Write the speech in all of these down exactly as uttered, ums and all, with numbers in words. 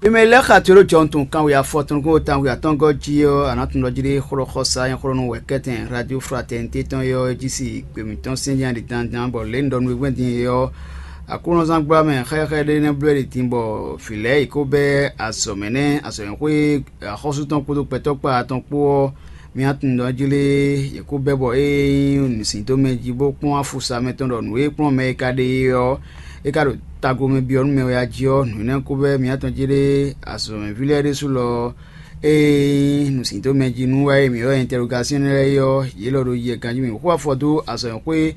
Ime lɛ́ xa to ɖó jɔnutun kanwe afɔtɔn kó tanwe atɔ́ngɔ́ jí ɔ́, a nǎ tunwun ɖɔ jí ɖé xlɔ́ xɔsa nyí xlɔ́ nú wɛ̌kɛ́tɛn Radio Fraternité tɔn é ɔ́, é jí si gběmítɔn sín nya ɖi dandan, bɔ lě un ɖɔ nú we gbɛ́ din é ɔ́, Aklúnɔzán gbla mɛ xɛxɛ ɖé nɛ́ bló ɖi din, bɔ vǐ lɛ́ɛ yě kó bɛ́ azɔ̌ mɛ nɛ́, azɔ̌ e xwé axɔ́sú tɔn kpódó gbɛtɔ́ kpá tɔn kpó ɔ́, mía tunwun ɖɔ jí lé, yě kó bɛ́ bɔ é nyí nǔsíndómɛ jí bó kpɔ́n afusa mɛ tɔn ɖɔ nǔ e kplɔ́n mɛ e ka ɖe é ɔ́, é ka ɖo taglomɛ byɔ́ nú mɛ wɛ a jí ɔ́, nǔ énɛ́ kó bɛ́ mía tɔn jí lé, azɔ̌mɛví lɛ́ɛ ɖésú lɔ ée nyí nǔsíndómɛ jí nú wá e mǐ ylɔ́ interrogation lɛ́ɛ é ɔ́, yě lɔ ɖo yɛ ganjí mǐ xo afɔ dó azɔ̌mɛxwé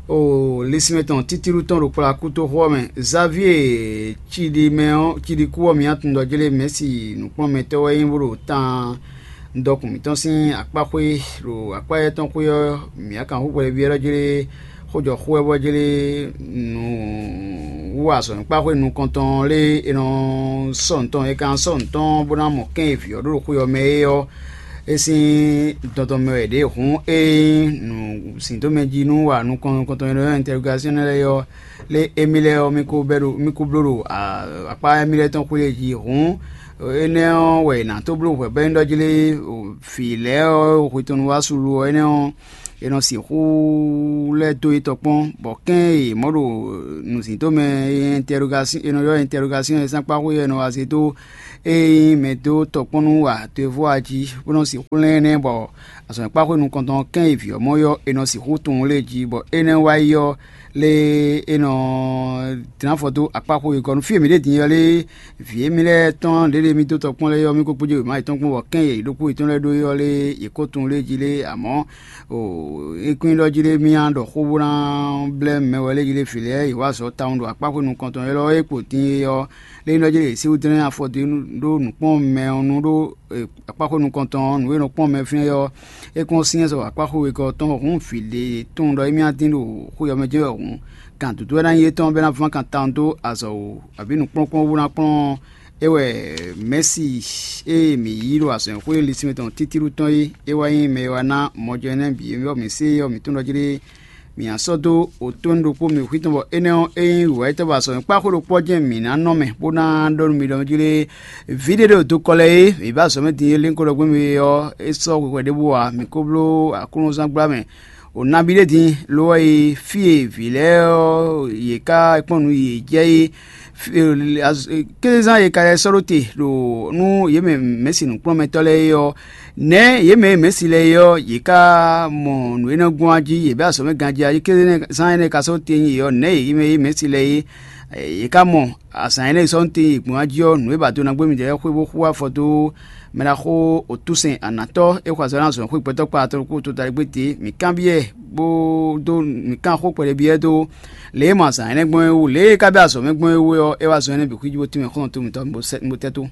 o lisínmɛ tɔn títíɖú tɔn ɖo kplá kútoxo ɔ́ mɛ. Xavier Cidimɛ ɔ́, Cidikú ɔ́, mǐ tunwun ɖɔ jlé Mɛ̌si nǔkplɔ́nmɛtɔ́ wɛ é nyí bó ɖo tan dɔkun mǐtɔn sín akpáxwé ɖo akpá éyɛ́ tɔn xwé ɔ́, mǐ kan xó hwɛɖéví ɔ́ jlé xójɔxó wɛ bɔ jlé nǔ wú azɔ̌ nyíkpáxwé nukɔntɔn lé è nɔ sɔ́ nǔ tɔn, è kan sɔ́ nǔ tɔn bó ná mɔ kɛ́n e vǐ ɔ́ ɖó ɖo xwé ɔ́ mɛ é ɔ́, é sín dɔn tɔn mɛ wɛ ɖě hǔn é nyí nǔsíndómɛ jí nú wa nukɔn nukɔntɔn e nɔ ylɔ́ interrogation lɛ́ɛ ɔ́, lé émí lɛ́ɛ ɔ́, mí ko bɛ́ ɖo mí ko bló ɖo akpá émí lɛ́ɛ tɔn xwé jí hǔn, énɛ́ ɔ́ wɛ è nǎ tó bló hwɛ̌ bɔ é nyí ɖɔ jí lé vǐ lɛ́ɛ ɔ́, hwe tɔn nu wá su lo ɔ́, énɛ́ ɔ́, è nɔ sixú lɛ́ dó yě tɔn kpɔ́n, bɔ kɛ́n e è mɔ ɖo nǔzíndómɛ e è nɔ ylɔ́ interrogation e sɛ́nkpáxwé ɔ́ è nɔ wá zé dó é nyí mɛ dó tɔkpɔ́n nú wa toevo a jí, bó nɔ sixú lɛ́n énɛ́, bɔ azɔ̌mɛkpáxwé nukɔntɔn kɛ́n e vǐ ɔ́ mɔ ɔ́, è nɔ sixú tunwun lé jí, bɔ énɛ́ wá yi ɔ́, lé é nɔ dlán afɔ dó akpáxwé e gɔ́ nú fí e mǐ ɖe din ɔ́ lé, vǐ émí lɛ́ɛ tɔn ɖěɖe mì dó tɔkpɔ́n lɛ́ɛ ɔ́, mì ko kpódó wěma yětɔn kpɔ́n, bɔ kɛ́n e yě ɖokpó yětɔn lɛ́ɛ ɖó é ɔ́ lé, yě ko tunwun lé jí lé, amɔ̌ é kún nyí ɖɔ jí lé mì ná ɖɔ xó bó ná blɛ́ mɛ wɛ lé jí lé vǐ lɛ́ɛ yě wá azɔ̌ tawun ɖo akpáxwé nukɔntɔn élɔ́ e kpo din é ɔ́, lé nyí ɖɔ jí lé yě sixú dlɛ́n afɔ dó ɖó nǔkpɔ́nmɛ ɔ́ nu ɖó akpáxwé nukɔntɔn ɔ́, nǔ e nɔ kpɔ́n mɛ fínɛ́ ɔ́, é kún syɛ́n sɔ akpáxwé wegɔ́ tɔn hǔn vǐ ɖé tunwun ɖɔ émí ná dín ɖo xwé ɔ́ mɛ jɛ́n wɛ hǔn, kan dǔdú wɛ ná nyí étɔn bɔ é ná ván kan tawun dó azɔ̌ wú, abǐ nǔkplɔ́nkplɔ́n wú ná kplɔ́n é wɛ Mɛ̌si e mǐ yí ɖo azɔ̌xwé lisínmɛ tɔn títíɖú tɔn é, é wá nyí mɛ e wá ná mɔjɔ énɛ́ bǐ e bɔ mǐ se é ɔ́, mǐ tunwun ɖɔ jí ɖé mǐ ná sɔ́ dó otó ɖokpó mì xwí tɔn, bɔ énɛ́ ɔ́, ényí wǔwɛ́yítɔ́ ba azɔ̌ kpáxwé ɖokpó ɔ́ jɛ́n mǐ ná nɔ mɛ, bó ná ɖɔ nú mi ɖɔ jí lé vǐ ɖé ɖo dokɔ lɛ́ɛ é, mǐ ba azɔ̌ mɛ din é lɛ́n ko ɖɔ gbɛ́ mì ɔ́, é sɔ́ hwehwɛ ɖěbǔ ǎ, mǐ ko bló aklúnɔzán gbla mɛ. O nabí ɖé din, lo ɔ́ yi fí e vǐ lɛ́ɛ ɔ́ yě ká kpɔ́n nǔ yě jɛ é, kézezán e ka lɛ́ sɔ́ ɖó te ɖo nú yě mɛ mɛ̌si nǔkplɔ́nmɛtɔ́ lɛ́ɛ é ɔ́, nɛ̌ yě mɛ e mɛ̌si lɛ́ɛ é ɔ́, yě ká mɔ nǔ e nɔ gbɔn a jí, yě bɛ́ azɔ̌ mɛ ganjí a jí, kézezán énɛ́ ka sɔ́ te nyi yě ɔ́, nɛ̌ yě mɛ e mɛ̌si lɛ́ɛ é, yě ká mɔ azǎn énɛ́ e sɔ́ nú te yě gbɔn a jí ɔ́, nǔ e ba do ná gbé midɛɛ lɛ́ɛ xwé bó xú afɔ dó mɛ ɖaxó Otúsɛn Anatɔ́ e xɔ azɔ̌ ná zɔn xwé gbɛtɔ́ kpa tɔn kpó tota ɖé gbé te. Mǐ kanbyɔ́ ɛ bó dó mǐ kan xó kpɛɖé byɔ́ ɛ dó lě e mɔ azǎn énɛ́ gbɔn é wú, lě e é ka bɛ́ azɔ̌ mɛ gbɔn é wú ɔ́, é wá zɔn énɛ́ bǐ xwíjí bó tínmɛ xɔ́ntɔn mǐtɔn bó tɛ́ tó.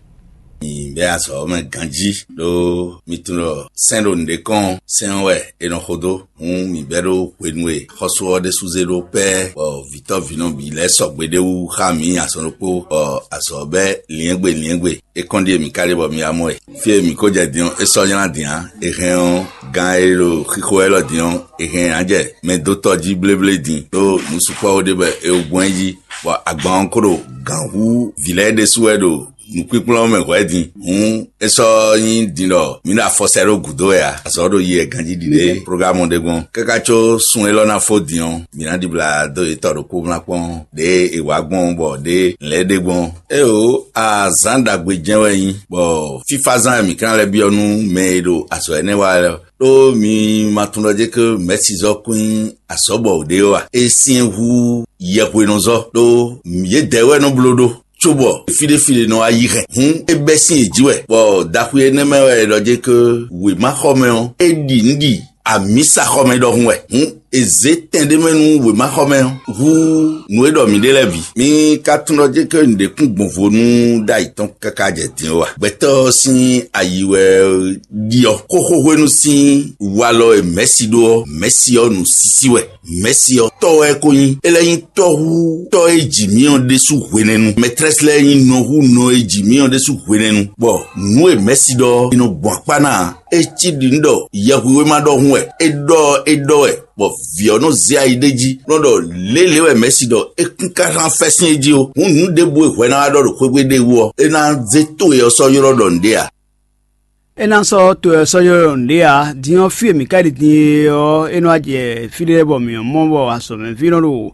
Mi bɛ́ azɔ̌ mɛ ganjí ɖó mi tunwun ɖɔ sɛ́n ɖo nǔɖé kɔn sɛ́n ɔ́ wɛ è nɔ xo dó. Hǔn mǐ bɛ́ ɖó hwenu e xɔ́sú ɔ́ ɖésú zé ɖó pɛ́, bɔ vǐtɔ́ vǐnɔ bǐ lɛ́ɛ sɔgbe ɖé wú xá mǐ azɔn ɖokpó, bɔ azɔ̌ bɛ́ liɛ́ngbe liɛ́ngbe. É kɔn ɖíe mǐ ka ɖe bɔ mi wá mɔ ɛ. Fí e mǐ ko jɛ din ɔ́, é sɔ́ nylá din ǎ. È hɛn ɔ́, gan e ɖo xixo élɔ́ din ɔ́, è hɛn ǎ jɛ mɛdótɔ́ jí bléblé din, ɖó nǔ sukpɔ́ ɖé bɔ è wú gbɔn ɛ jí, bɔ agban ɔ́ ko ɖo gǎn hú vǐ lɛ́ɛ ɖésú wɛ ɖo nǔkpínkplɔ́n mɛ hwɛ̌ din. Hǔn é sɔ́ nyí din ɖɔ mǐ ɖo afɔ sɛ ɖó gǔdo wɛ ǎ, azɔ̌ ɖo yi wɛ ganjí ɖiɖe prógámu ɖé gbɔn. Káká có sun élɔ́ ná fó din ɔ́, mǐ ná ɖibla dó yě tɔ ɖokpó mlá kpɔ́n ɖěe è wǎ gbɔn bɔ ɖěe lɛ̌ ɖe gbɔn. Éeǒ, azǎn ɖagbe jɛ́n wɛ é nyí, bɔ fífázán e mǐ ka ná lɛ́ byɔ́ nú mɛ e ɖo azɔ̌ énɛ́ wa lɛ́ɛ, ɖó mi ma tunwun ɖɔ jɛ́n ké mɛ̌sizɔ́ kún nyí azɔ̌ bɔ ɖě ó a? É syɛ́n hú yɛhwenɔzɔ́, ɖó yědɛɛ wɛ nɔ bló ɖó, cóbɔ fí ɖé fí ɖé nɔ wá yí hɛn. Hǔn é bɛ́ sín yě jí wɛ, bɔ daxwi énɛ́ mɛ wɛ è ɖɔ jɛ́n ké wěmaxɔmɛ ɔ́, é ɖi nǔ ɖi amǐsaxɔmɛ ɖɔhun wɛ. Hǔn è zě tɛn ɖé mɛ nú wěmaxɔmɛ ɔ́ hú nǔ e ɖɔ mǐ ɖe lɛ́ɛ bǐ. Mi ka tunwun ɖɔ jɛ́n ké nǔɖé kún gbɔn vo nú ɖ'ayǐ tɔn káká jɛ din ó a? Gbɛtɔ́ ɔ́ sín ayi wɛ ɖiɔ xóxó hwenu sín walɔ e mɛ̌si ɖó ɔ́, mɛ̌si ɔ́ nǔsísí wɛ. Mɛ̌si ɔ́, tɔ́ wɛ é ko nyí; é lɛ́ nyí tɔ́ hú tɔ́ e ji mǐ ɔ́ ɖésú hwenɛ́nu. Mɛtrɛ́si lɛ́ɛ nyí nɔ hú nɔ e ji mǐ ɔ́ ɖésú hwenɛ́nu, bɔ nǔ e mɛ̌si ɖɔ ɔ́, è nɔ gbɔn akpá ná ǎ. É cí ɖi nǔ ɖɔ yɛhwihwéma ɖɔhun wɛ é ɖɔ é ɖɔ wɛ. bɔ vǐ ɔ́ nɔ zé ayi ɖ'é jí, nɔ ɖɔ lě lě wɛ Mɛ̌si ɖɔ é kún ka hán fɛ́sín é jí ó. Hǔn nǔ ɖěbǔ e hwɛ ná wá ɖɔ ɖo xwé gbe ɖ'é wú ɔ́, é ná zé to e ɔ́ sɔ́ ylɔ́ ɖɔ nǔɖé ǎ. É ná sɔ́ to ɔ́ sɔ́ ylɔ́ ɖɔ nǔɖé ǎ. Din ɔ́, fí e mǐ ka ɖi din e ɔ́, é nɔ wá jɛ fí ɖé lɛ́ɛ bɔ mǐ nɔ mɔ bɔ azɔ̌mɛví nɔ ɖo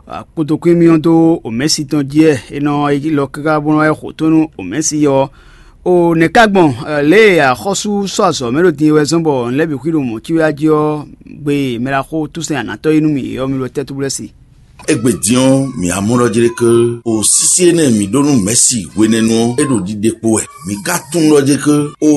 kpotokún émí ɔ́ dó omɛ̌si tɔn jí wɛ. É nɔ yi lɔ káká bó nɔ wá yi xo tó nú omɛ̌si ɔ́. O nɛ̌ ka gbɔn lě e axɔ́sú sɔ́ azɔ̌ mɛ ɖo din e wɛ zɔ́n bɔ nǔ lɛ́ɛ bǐ xwí ɖo mɔ̌ cí wɛ jí ɔ́, gbe e mɛ ɖaxó túsɛn anatɔ́ yi nú mì é ɔ́, mi ɖo tɛ́ túbúlɛ́ se? Égbé din ɔ́, mǐ wá mɔ ɖɔ jlé ké o sísí énɛ́ e mǐ ɖó nú Mɛ̌si hwenɛ́nu ɔ́, é ɖo ɖiɖe kpo wɛ. Mǐ ka tunwun ɖɔ jlé ké o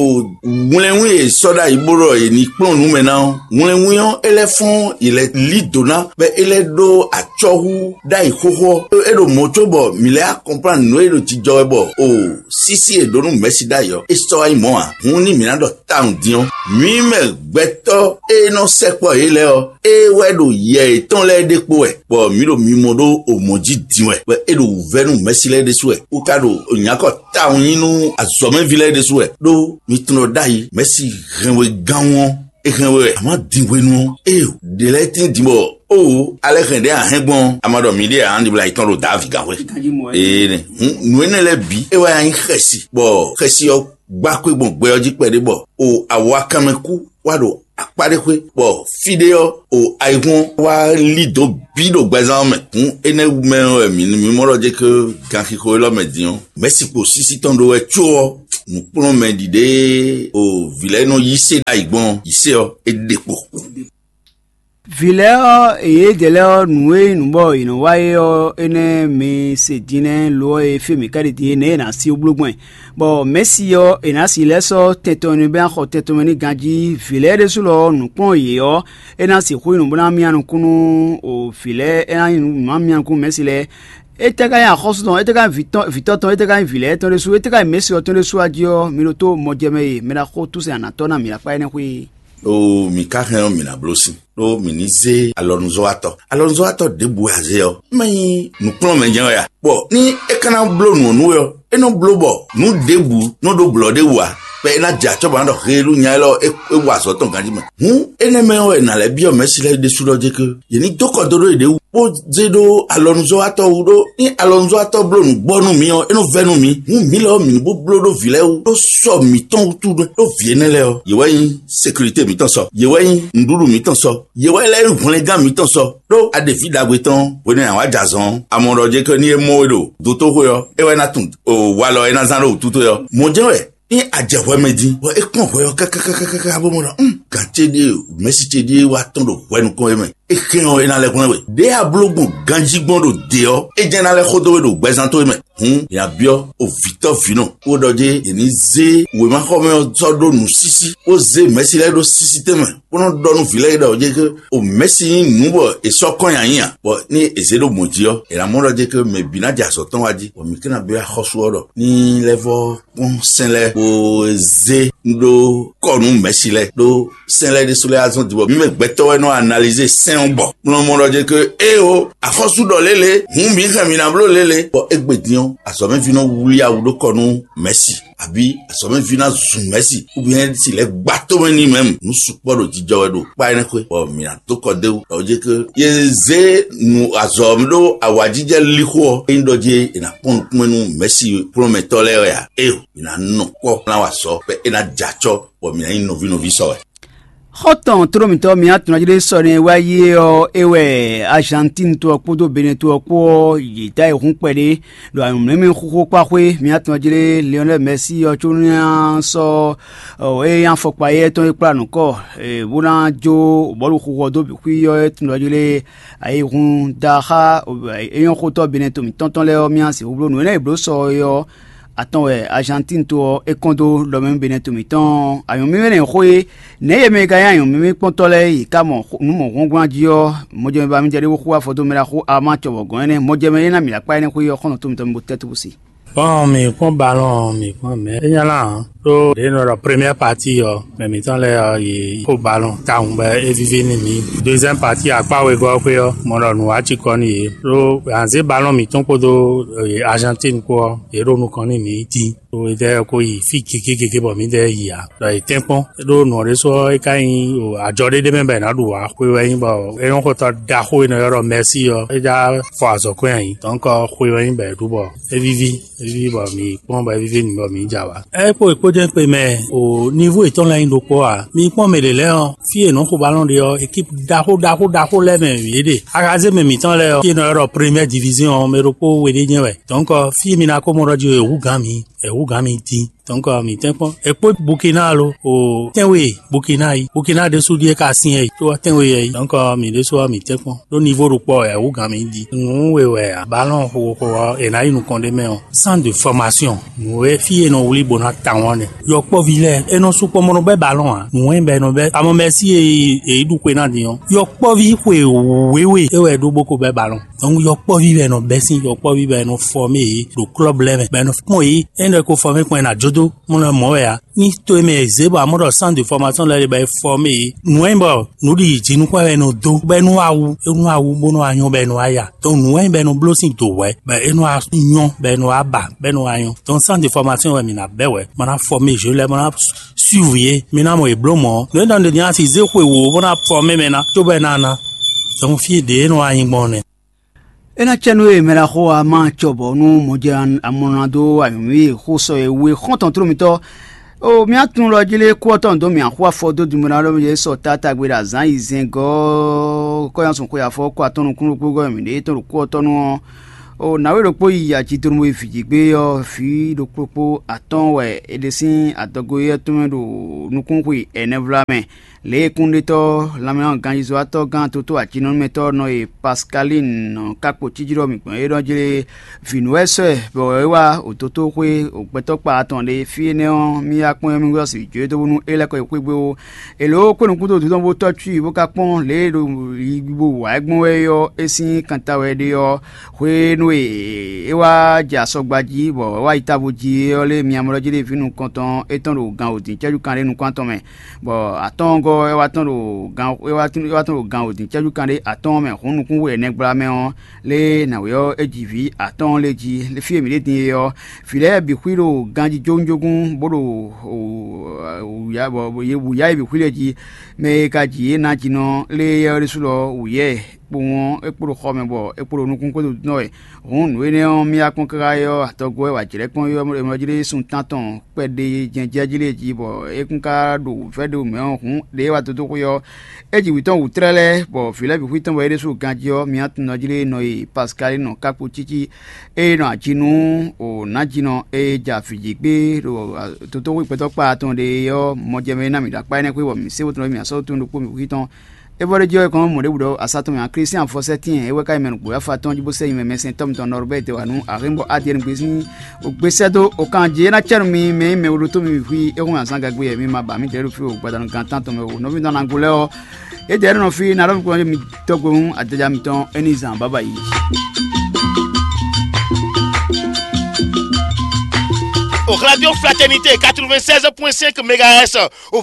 wlɛnwín e è sɔ́ ɖ'ayǐ bó ɖɔ è nǐ kplɔ́n nǔ mɛ ná ɔ́, wlɛnwín ɔ́, é lɛ́ fɔ́n yě lɛ́ lí dǒ ná, bɔ é lɛ́ ɖó acɔ́ hú ɖ'ayǐ xóxó ɔ́. É ɖo mɔ̌ có bɔ mǐ lɛ́ akɔnplán nǔ e ɖo jijɔ wɛ bɔ o sísí e ɖǒ nú Mɛ̌si ɖ'ayǐ ɔ́, é sɔ́ wá nyí mɔ̌ ǎ. Hǔn ní mǐ ná ɖɔ tawun din ɔ́, mǐ mɛ gbɛtɔ́ e nɔ sɛkpɔ́ yě lɛ́ɛ ɔ́, é wɛ ɖo yɛ yětɔn lɛ́ɛ ɖe kpo wɛ, bɔ mǐ ɖo mimɔ ɖó o mɔ̌ jí din wɛ, bɔ é ɖo wǔvɛ́ nú Mɛ̌si lɛ́ɛ ɖésú wɛ, bó ka ɖo nyǎkɔ tawun nyi nú azɔ̌mɛví lɛ́ɛ ɖésú wɛ, ɖó mi tunwun ɖɔ ɖ'ayǐ Mɛ̌si hɛn we gán ɔ́, é hɛn we wɛ. Amɔ̌ din hwenu ɔ́, ée ɖě lɛ́ɛ tín din bɔ, oo, alɛ hɛn ɖě a hɛn gbɔn, a ma ɖɔ mǐɖée ǎ, ɖibla yětɔn ɖo Davi gǎnxwé. Ee nɛ, hǔn nǔ énɛ́ lɛ́ɛ bǐ é wɛ nyí xɛsi, bɔ xɛsi ɔ́ gbá xwé gbɔn gbɛ ɔ́ jí kpɛɖé bɔ o awakanmɛ kú wá ɖo akpá ɖé xwé, bɔ fí ɖé ɔ́, o ayihún ɔ́ wá lí dǒ bǐ ɖo gbɛzán ɔ́ mɛ. Hǔn énɛ́ wú mɛ wɛ mǐ mí mɔ ɖɔ jɛ ké ganxixo élɔ́ mɛ din ɔ́, mɛ̌si kpo sísí tɔn ɖó wɛ có ɔ́, nǔkplɔ́nmɛ ɖiɖe o vǐ lɛ́ɛ nɔ yí se ɖ'ayǐ gbɔn yǐ se ɔ́, é ɖe kpo. Vǐ lɛ́ɛ ɔ́, yědɛɛ lɛ́ɛ ɔ́, nǔ e nyí nǔ bɔ yě nɔ wa é ɔ́, énɛ́ mi se din nɛ́, lo ɔ́, e fí e mǐ ka ɖi din é nɛ̌ è nǎ sí wú bló gbɔn ɛ. Bɔ Mɛ̌si ɔ́, è nǎ sixú lɛ́ sɔ́ tɛn tɔn nú bɛ́ ná xɔ tɛn tɔn mɛ n'i ganjí. Vǐ lɛ́ɛ ɖésú lɔ ɔ́, nǔkplɔ́n yě ɔ́, é ná sixú nyí nǔ bó ná myá nukún nú vǐ lɛ́ɛ, é ná nyí nǔ ná myá nukún Mɛ̌si lɛ́ɛ. Étɛ́ ka nyí axɔ́sú tɔn? Étɛ́ ka nyí vǐ tɔn tɔn? Étɛ́ ka nyí vǐ lɛ́ɛ tɔn ɖésú? Étɛ́ ka nyí Mɛ̌si ɔ́ tɔn ɖésú a jí ɔ́, mi ɖo tó mɔjɛmɛ e mɛ ɖaxó túsɛn anatɔ́ ná mǐ ɖo akpá énɛ́ xwé é. Ɖó mǐ ka hɛn ɔ́, mǐ ná bló sin, ɖó mǐ ní zé alɔnuzɔ́watɔ́. Alɔnuzɔ́watɔ́ ɖěbǔ wɛ a zé ɔ́, é má nyí nǔkplɔ́nmɛ jɛ́n wɛ a? Bɔ ní é ka ná bló nǔ ɔ́ nú we ɔ́, é nɔ bló bɔ nǔ ɖěbǔ nɔ ɖó blɔ̌ ɖé wú ǎ, bɔ é ná jɛ acɔ́ bɔ ná ɖɔ heelú nya élɔ́ é é wa azɔ̌ tɔn ganjí mɛ. Hǔn énɛ́ mɛ ɔ́ wɛ nǎ lɛ́ byɔ́ Mɛ̌si lɛ́ɛ ɖésú ɖɔ jé ké yě ní dó kɔ dó ɖó yěɖée wú, bó zé ɖó alɔnuzɔ́watɔ́ wú ɖó ní alɔnuzɔ́watɔ́ bló nǔgbɔ nú mǐ ɔ́, é nɔ vɛ́ nú mǐ. Hǔn mǐ lɔ ɔ́, mǐ ní bó bló ɖó vǐ lɛ́ɛ wú ɖó sɔ mǐtɔn wútu ɖó vǐ énɛ́ lɛ́ɛ ɔ́, yě wɛ nyí sekirite mǐtɔn sɔ, yě wɛ nyí nǔɖuɖu mǐtɔn sɔ, yě wɛ lɛ́ nyí hwlɛngán mǐtɔn sɔ. Ɖó a ɖe vǐ ɖagbe tɔn hwenu e a wǎ jɛ azɔn ɔ́, a mɔ ɖɔ jɛ ké ní é mɔ we ɖo dotóxwé ɔ́, é wɛ ná tunwun walɔ e é ná zán ɖó wǔtu towe ɔ́. Mɔ̌ jɛ́n wɛ ní a jɛ hwɛ mɛ din, bɔ é kpɔ́n hwɛ ɔ́ kákákákáká bó mɔ ɖɔ, um, gǎn ce ɖíe, mɛ̌si ce ɖíe wá tɔ́n ɖo hwɛ nukɔn é mɛ. É hɛn ɔ́, é ná lɛ́ hwlɛ́n we. Ɖěe a bló gbɔn ganjí gbɔn ɖo dě ɔ́, é jɛ́n ná lɛ́ xo dó we ɖo gbɛzán towe mɛ. Hǔn, nya byɔ́ o vǐtɔ́ vǐnɔ, bó ɖɔ jé è ní zé wěmaxɔmɛ ɔ́ sɔ́ ɖó nǔsísí, bó zé mɛ̌si lɛ́ɛ ɖó sísítɛ́ mɛ, bó nɔ́ ɖɔ nú vǐ lɛ́ɛ ɖɔ jé ké o mɛ̌si nyí nǔ bɔ è sɔ́ kɔn nyi ayǐ a? Bɔ ní è zě ɖo mɔ̌ jí ɔ́, è nǎ mɔ ɖɔ jé ké mɛ bǐ ná jɛ azɔ̌ tɔn wá jí, bɔ mǐ ké ná byɔ́ axɔ́sú ɔ́ ɖɔ ní lɛ́ vɔ́ kpɔ́n sɛn lɛ́ɛ, bó zé ɖó kɔ nú mɛ̌si lɛ́ɛ, ɖó sɛn lɛ́ɛ ɖésú lɛ́ɛ azɔn din bɔ mǐ mɛ gbɛtɔ́ wɛ nɔ analyser sɛn ɔ́ gbɔ. Mlɔ mɔ ɖɔ jɛ ke éewo, axɔ́sú ɖɔ lélẹ̀, hǔn mǐ hɛn mǐ ná bló lélẹ̀. Bɔ égbé din ɔ́, azɔ̌mɛví nɔ wlí awu ɖó kɔ nú mɛ̌si, abǐ azɔ̌mɛví ná zun mɛ̌si, ubiyɛn si lɛ́ gba tómɛ n'i mɛ. Nǔ sukpɔ́ ɖo jijɔ wɛ ɖo kpá énɛ́ xwé, bɔ mǐ ná dó kɔ d'é wú. Ɔ jɛ ke ye zé nu azɔ̌ ɖó awǎjijɛ lixo ɔ́, é nyí ɖɔ jé è nǎ kpɔ́n nukúnmɛ nú mɛ̌si kplɔ́nmɛtɔ́ lɛ́ɛ wɛ ǎ. Éewo, mǐ ná nɔ kpɔ́ ná wa sɔ, bɔ é ná jɛ acɔ́, bɔ mǐ ná nyí nɔví nɔví sɔ wɛ. Xɔ́ntɔn tlómítɔ́ mi atɔnɔjlé sɔ́ni wá yi é ɔ́, é wɛ Argentine to ɔ́ kpódó Benin to ɔ́ kpó ɔ́, yě dó ayǐhún kpɛɖé ɖo anyǔmlɛ́mɛ xóxó kpá xwé. Mi atɔnɔjlé Lionel Messi ɔ́ có ní sɔ́ é nyí afɔkpa éyɛ́ tɔn e kplá nǔkɔ bó ná jó bɔ̌lu xóxó ɔ́ dó bǐ xwí ɔ́, é tunwun ɖɔ jlé ayǐhún da xá é nyɔ́ xótɔ́ Benin to mǐtɔn tɔn lɛ́ɛ ɔ́, mì sixú bló nǔ énɛ́ e blǒ sɔ é ɔ́, atɔn wɛ Argentine to ɔ́ é kɔn dó ɖɔ mɛ nú Benin to mǐtɔn. Anyǔmímí nɛ́ xó é, nɛ̌ yě mɛ e ka nyí anyǔmímí kpɔ́ntɔ́ lɛ́ɛ yě ká mɔ nǔ mɔ hwlángbán jí ɔ́, mɔjɛmɛ ba mì jɛ ɖé bó xú afɔ dó mɛ ɖaxó Armand cɔbɔ gɔ̌n énɛ́, mɔjɛmɛ é ná mǐ lá kpá énɛ́ xwé ɔ́, xɔ́ntɔn tó mǐtɔn mi bo tɛ́ túbú si. Bɔn mǐ kpɔ́n balɔn, mǐ kpɔ́n mɛ̌ é nya lá ǎ, ɖó ɖě nɔ ɖɔ première partie ɔ́, mɛ mǐtɔn lɛ́ɛ ɔ́, yě xo balɔn tawun bɔ é víví nú mǐ. Deuxième partie akpá wegɔ́ ɔ́ xwé ɔ́, mɔ ɖɔ nǔ wá cikɔ nú yě, ɖó anzé balɔn mǐtɔn kpódó Argentine kpó ɔ́, yě ɖo nukɔn nú mǐ dín. ɖo étɛ́ ko yi fí gěgé gěgé bɔ mǐdɛɛ yi ǎ. Ɖɔ è tɛ́nkpɔ́n ɖó nǔ ɔ́ ɖésú ɔ́, é ka nyí ajɔ ɖé ɖé mɛ bɔ è nǎ ɖu ǎ. Xwe wɛ nyí bɔ énɔ́xotɔ́ ɖaxó e nɔ ylɔ́ ɖɔ Mɛsíi ɔ́, é já fɔ azɔ̌ kɔn nyi ayǐ. Dɔ̌nkɔ xwe wɛ nyí bɔ è ɖu bɔ é víví, é víví bɔ mǐ kpɔ́n bɔ é víví nǔ bɔ mǐ jɛ awǎ. É kpo è kpó jɛ́n kpe mɛ o, nivo yětɔn lɛ́ɛ nyí ɖokpó ǎ. Mi kpɔ́n mɛ ɖě lɛ́ɛ ɔ́, fí e nǔ xo balɔn ɖe ɔ́, ekípu ɖaxó ɖaxó ɖaxó lɛ́ɛ mɛ yě ɖe. Axazé mɛ mǐtɔn lɛ́ɛ ɔ́, fí e nɔ ylɔ́ ɖɔ Première Division ɔ́, mɛ ɖokpó we ɖé jɛ́n wɛ. Dɔ̌nkɔ fí e mi ná ko mɔ ɖɔ jí é hú gǎn mi, é hú gǎn mi dín. Dɔ̌nkɔ mǐ tɛ́nkpɔ́n. È kpó Bukina lo, o tɛ́nwe Bukina yi. Bukina ɖésú ɖíe ka syɛ́n yi, tó ɔ́ tɛ́nwe yɛ yi. Dɔ̌nkɔ mǐ ɖésú ɔ́ mǐ tɛ́nkpɔ́n. Ɖó nivo ɖokpó ɔ́, é hú gǎn mi dín. Nǔ we wɛ ǎ. Balɔn xo xo ɔ́, è nǎ yi nukɔn ɖé mɛ ɔ́, centre de formation. Nǔ e fí e nɔ wlí bó ná tawɔn nɛ. Yɔkpɔ́ví lɛ́ɛ, é nɔ sukpɔ́ mɔ nɔ bɛ́ balɔn ǎ. Nǔ e bɛ nɔ bɛ́ amɔ mɛsí e è yi ɖu xwe ná din ɔ́, yɔkpɔ́ví xwe wěwe é wɛ ɖó bó ko bɛ́ balɔn. Donc yɔkpɔ́ví wɛ nɔ bɛ́ sín, yɔkpɔ́ví wɛ nɔ fɔmé yě ɖo klɔ́b lɛ́ɛ mɛ, bɔ é nɔ kpɔ́n yě. É nɔ ko fɔmé kpɔn é ná jó dó mɔ nɔ mɔ̌ wɛ ǎ. Ní to e mɛ è zě bɔ amɔ̌ ɖɔ centre de formation lɛ́ɛ ɖe bɔ è fɔmé yě. Nǔ e nyí bɔ nǔɖiɖi jǐnukún wɛ è nɔ dó, bɔ é nɔ wá wú, é nɔ wá wú bó nɔ wá nyɔ́, bɔ é nɔ wá ya. Donc nǔ wɛ nyí bɔ è nɔ bló sín dǒ wɛ, bɔ é nɔ wá nyɔ́, bɔ é nɔ wá ba, bɔ é nɔ wá nyɔ́. Donc centre de formation wɛ mǐ ná bɛ́ wɛ, ma ná fɔmé jǒ lɛ́ɛ, ma ná suivre yě, mi ná mɔ yě bló mɔ̌. Nǔ e ɖɔ un ɖe din asi zé xwe wǒ bó ná fɔmé mɛ ná, cóbɔ é ná ná. Donc fí ɖě e nɔ wá nyí gbɔn nɛ́. É ná cɛ nú we mɛ ɖaxó a ma cɔ bɔ nú mɔjɛ amɔnɔ ná dó anyǔmí e xó sɔ e we xɔ́ntɔn tló mitɔ́. O mía tunwun ɖɔ jí lé kú ɔ́ tɔn dó mì axú afɔ dó dumɛ ná ɖɔ mì sɔ tata gbe ɖo azǎn yi zɛngɔ́ kɔ́yánsun xwe afɔ kɔ atɔn nukúnnú kpógɔ́ mǐ ɖe tɔn ɖo kú ɔ́ tɔn nu ɔ́. O nǎwe ɖokpó yi aci donu e vǐ jí gbé ɔ́, vǐ ɖokpó kpó atɔ́ɔ́n wɛ è ɖe sín adɔgo éyɛ́ tɔn mɛ ɖo nukúnxwe ɛnɛ vlamɛ. Lě e kúnɖetɔ́ lanmɛganjízɔ́watɔ́ gán toto acinɔ́mɛtɔ́ nɔ e Paskalín nɔ ká kpo cíjí ɖɔ mǐ gbɔn é ɖɔ jlé vǐnúwɛ́sɔ́ ɛ bɔ é wá òtotóxwé ògbɛtɔ́kpa atɔn ɖé. Fí énɛ́ ɔ́, mì yá kpɔ́n mì wɛ ɔ́ sì jó dó bónú é lɛ́ kɔ yi xwé gbé ó. È lǒ kpé nukúnɖodó tɔn bó tɔ́ cú i bó ka kpɔ́n lě e ɖo yi bó wǎ ɛ gbɔn wɛ é ɔ́, é sín kanta wɛ ɖe ɔ́, hwenu e é wá jɛ asɔgba jí bɔ é wá yi távo jí é ɔ́ lé mia mɔ ɖɔ jí ɖe vǐ nukɔntɔn étɔn ɖo gan wǒdin cɛ́jú kanɖé nukún atɔn mɛ. Bɔ atɔ́ɔ́ngɔ́ ɔ́ é wá tɔ́n ɖo gan é wá tɔ́n ɖo gan wǒdin cɛ́jú kanɖé atɔ́ɔ́n mɛ hǔn nukún we ɛnɛ gbla mɛ ɔ́, lé nǎwe ɔ́ é ji vǐ atɔ́ɔ́n lé jí. Fí e mǐ ɖe din é ɔ́, vǐ lɛ́ɛ bǐ xwí ɖo ganjí jógúnjógún bó ɖo wǔyá bɔ yě wǔyá e bǐ xwí lɛ́ɛ jí. Mɛ e ka ji yě ná jinɔ lé éyɛ́ ɔ́ ɖésú lɔ wǔyá ɛ kpowun ɔ́, é kpo ɖo xɔ mɛ bɔ é kpo ɖo nukún xwédo dɔn wɛ. Hǔn nǔ énɛ́ ɔ́, mì wá kpɔ́n káká é ɔ́, atɔgɔ́ wɛ wǎ jlɛ́ kpɔ́n é ɔ́, é nɔ jí ɖé sun tántɔn kpɛɖé jɛ́njɛ́ jí lé jí bɔ é kún ka ɖo vɛ̌ ɖé mɛ ɔ́ hǔn ɖě wá dó dó xwé ɔ́, é ji wǐ tɔn wǔ tlɛ́ lɛ́ɛ, bɔ vǐ lɛ́ɛ bǐ xwí tɔn bɔ é ɖésú ganjí ɔ́, mì wá tunwun jí lé nɔ e Paskalín nɔ ká kpo cící é nɔ ajínú o nǎjínɔ e ja vǐ jí gbé ɖo tótóxwé gbɛtɔ́ kpa tɔn ɖe ɔ́, mɔjɛmɛ ná mì ɖo akpá énɛ́ xwé bɔ mǐ sé wótɔn mì asɔ́ tɔn ɖokpó mì xwí tɔn. É vɔ ɖé jí ɔ́, è kɔn mɔ ɖěbǔ ɖɔ asá tɔn mɛ ǎ. Klísián fɔsɛ́tín ɛ é wɛ ka nyí mɛ nukpó yáfa tɔn jí bó sɛ́ nyi mɛ mɛsɛntɔ́ mitɔn Nɔrbɛ́ɛ wǎ nú Arinbɔ Adiyɛ́ɛn gbezín. O gbesɛ́ dó o kan jí é ná cɛ́ nú mi mɛ nyí mɛ e ɖótó mi xwí é hún azán gagbe wɛ mi ma ba mì ɖěɖo fí o gbadanu gan tántɔn mɛ o nɔví nɔ ná go lɛ́ɛ ɔ́. É dɛ nɔ fí ná ɖɔ mi tɔgbe hún adéja mitɔn é ní zan bábà yi. Au Radio Fraternité quatre-vingt-seize point cinq mégahertz, au